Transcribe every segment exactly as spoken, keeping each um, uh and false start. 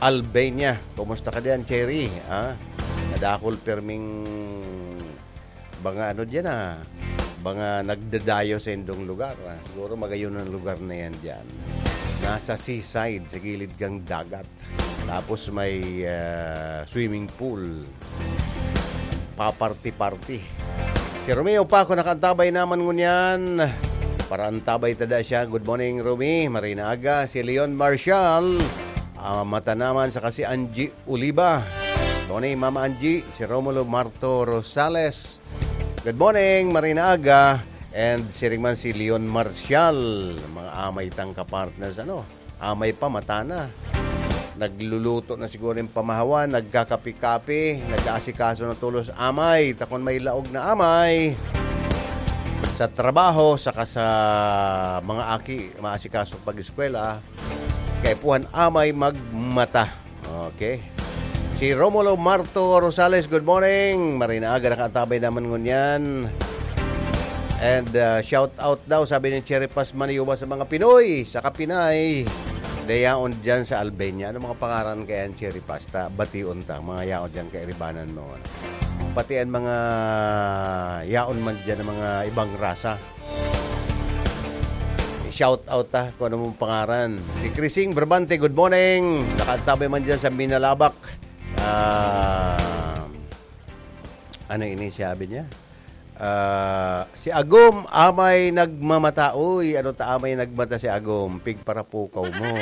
Albania. Kumusta ka diyan, Cherry? Ah, nadakol perming mga ano diyan, ah, mga nagdadayo sa indong lugar, ah. Siguro magayon ang lugar na yan diyan. Nasa seaside, sa gilid kang dagat. Tapos may, ah, swimming pool. Paparty-party. Si Romeo Paco nakaantabay naman ngunyan. Para antabay tada siya. Good morning, Romy. Marina aga. Si Leon Marshall. Ah, mata naman sa kasi Angie Oliva. Good morning, Mama Angie. Si Romulo Marto Rosales. Good morning, Marina aga. And siring man si Leon Marshall. Mga amay tang kapartners, ano? Amay pa, mata na. Nagluluto na siguro yung pamahawan, nagkakapi-kapi, nag-aasikaso na tulos amay. Takon may laog na amay. Sa trabaho, saka sa mga aki, maasikaso pag-eskwela, kaipuhan amay magmata. Okay. Si Romulo Marto Rosales, good morning. Marina aga, nakaantabay naman ngunyan. And, uh, shout out daw, sabi ni Cherry Paz Maniuba sa mga Pinoy, sa Kapinay. Dayaon dyan sa Albania. Ano mga pangaran kaya ang Cherry Paz? Ta, bation ta, mga yaon dyan kairibanan mo. Pati ang mga yaon man dyan ng mga ibang rasa. Shout out ta kung ano mong pangaran. Si Crising Brabante, good morning. Nakaantabay man dyan sa Minalabac. Ah, ano ini sabi niya? Ah, si Agom, amay nagmamata. Uy, ano ta amay nagmata si Agom? Pigparapukaw mo.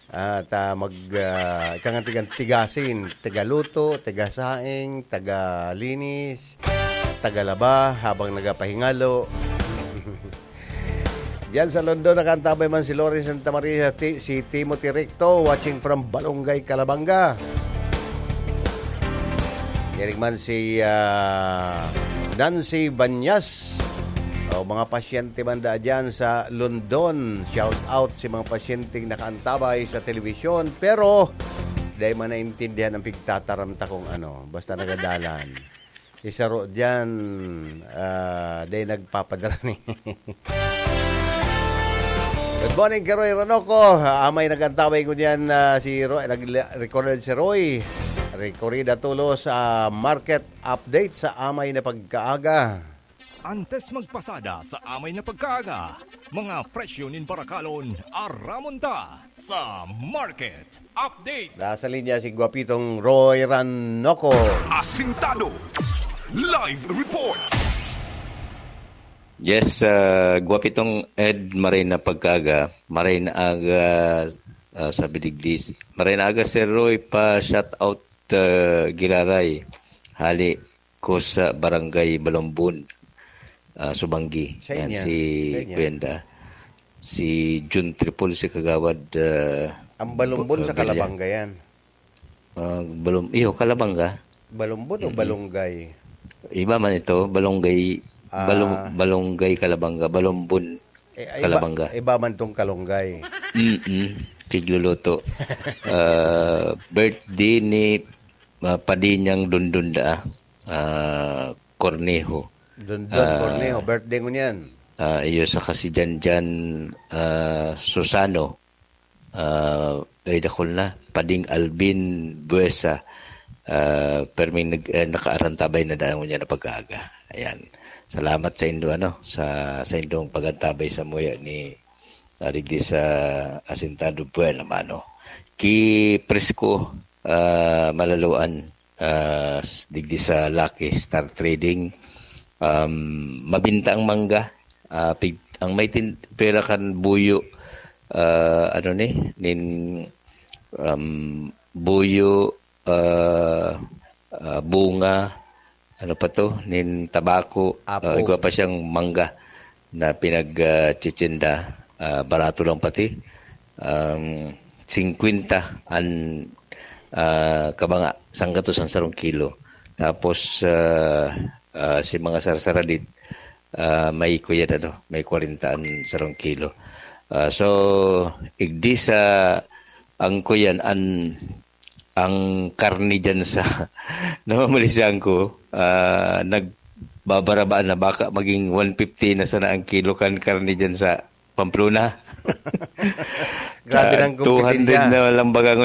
At, ah, mag, ah, ika nga tigan-, tigasin, tagaluto, tagasaing, tagalinis, tagalaba habang nagapahingalo. Diyan sa London, nakaantabay man si Lori Santa Maria, ti-, si Timothy Recto, watching from Balongay, Calabanga. Diyan man si, ah, Nancy Banyas. O, mga pasyente man da dyan sa London. Shout out si mga pasyenteng nakaantabay sa telebisyon. Pero, dai man naintindihan ang pigtataram ta kung ano. Basta nagadalan. Si Saro dyan, ah, dai nagpapadrani. Good morning, Karoy Ranoco. Ah, amay nag-antabay ko diyan, ah, si Roy, nag-record si Roy. Recorrida tulos, ah, market update sa amay na pagkaaga. Antes magpasada sa amay na pagkaaga, mga presyo nin barakalon, aramon ta sa market update. Nasa linya si Guapitong Roy Ranoco. Asintado. Live report. Yes, ah, Guapitong Ed, maray na pagkaaga. Maray na aga, ah, sabi digdi. Maray na aga, Sir Roy, pa shout out, ah, giraray. Hali ko sa Barangay Balombon, ah, Subanggi. Sa Yan, inyo? si Sa inyo? Kuwenda. Si Jun Tripol, si Kagawad, ah, Ang Balombon Bu-, sa ah, Galya. Kalabanga yan. Ah, Balom-, iyo, Kalabanga. Balombon o Mm-mm. Balonggay? Iba man ito, Balonggay, Ah. Balom-, Balonggay, Kalabanga, Balombon, Eh, iba, Kalabanga. Iba man tong Kalonggay. Mm-mm. Tigluluto. Ah, birthday ni, ah, Padinyang Dundun da, ah, Cornejo. Dundun Ah. Cornejo, birthday mo niyan. Ah, iyo sa kasi Janjan, ah, Susano. Ah, ay, dakul na. Pading Alvin Buesa. Ah, perming nag-, eh, nakaarantabay na daan niya na pagkaaga. Ayan. Salamat sa indo, ano, sa, sa indong pagantabay sa muya ni, ah, digdi sa Asintado Buena, mano. Ki Prisco, ah, Malaloan, ah, s-, digdi sa Lucky Star Trading. Um, mabinta ang mangga. Ah, pig-, ang may tin-, pera kan buyo, ah, ano ni, nin, um, buyo, ah, ah, bunga, ano pa to, nin tabako, Apo. ah, igwa pa siyang mangga na pinag, ah, tsitsinda. Ah, barato lang pati. Um, singkwenta an, ah, kabanga, sanggatos an sarong kilo. Tapos, ah, ah, si mga sarsaradit, ah, may kuyan, ano, may kwarenta an sarong kilo. Ah, so, igdi sa ang kuyan, an, ang karne dyan sa namamalisan ko, ah, nagbabarabaan na baka maging one fifty na sana ang kilo kan karne dyan sa Pamplona. Grabe Ah, ng two hundred kompetensya. na lang baga ngunyan.